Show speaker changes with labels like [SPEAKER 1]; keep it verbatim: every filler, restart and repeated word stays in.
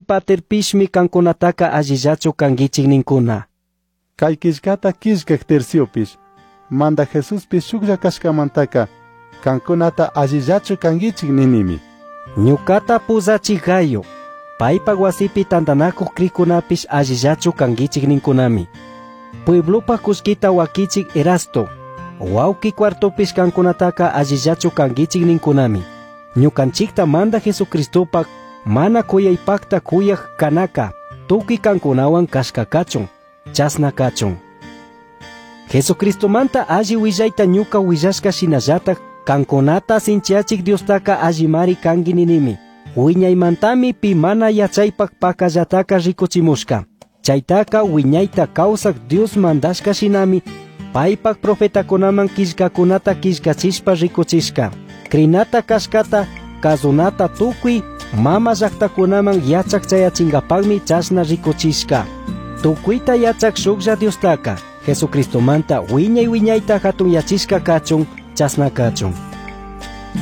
[SPEAKER 1] Antipaterpishmi kankunataka allillachu kankichik ninkuna.
[SPEAKER 2] Kay killkata killkak Terciopish, Mandaj Jesuspish shuklla kashkamantaka kankunata allillachu kankichik ninimi.
[SPEAKER 1] Ñukata puzachik Gayo, paypak wasipi tantanakuq krikunapish allillachu kankichik ninkunami. Pueblopaj kullkita wakichik Erasto, wawqi Cuartopish kankunataka allillachu kankichik ninkunami. Ñukanchikta Mandaj Jesucristopak mana kuyaypakta kuyak kanaka, tukuy kankunawan kashka kachun, chasna kachun. Jesucristomanta alli willayta ñuka willashka shinallatak kankunata sinchiyachik Diostaka allimari kanki ninimi. Wiñaymantami pi mana yachaypak pakallataka rikuchimushka. Chaytaka wiñayta kawsak Dios mandashka shinami paypak profetakunaman killkakunata killkachishpa rikuchishka. Krinata kashkata kazunata tukuy mama llaktakunaman yachak chayachinkapakmi chashna rikuchishka. Tukuyta yachak shuklla Diostaka Jesucristomanta wiñay wiñayta hatunyachishka kachun, chasna kachun.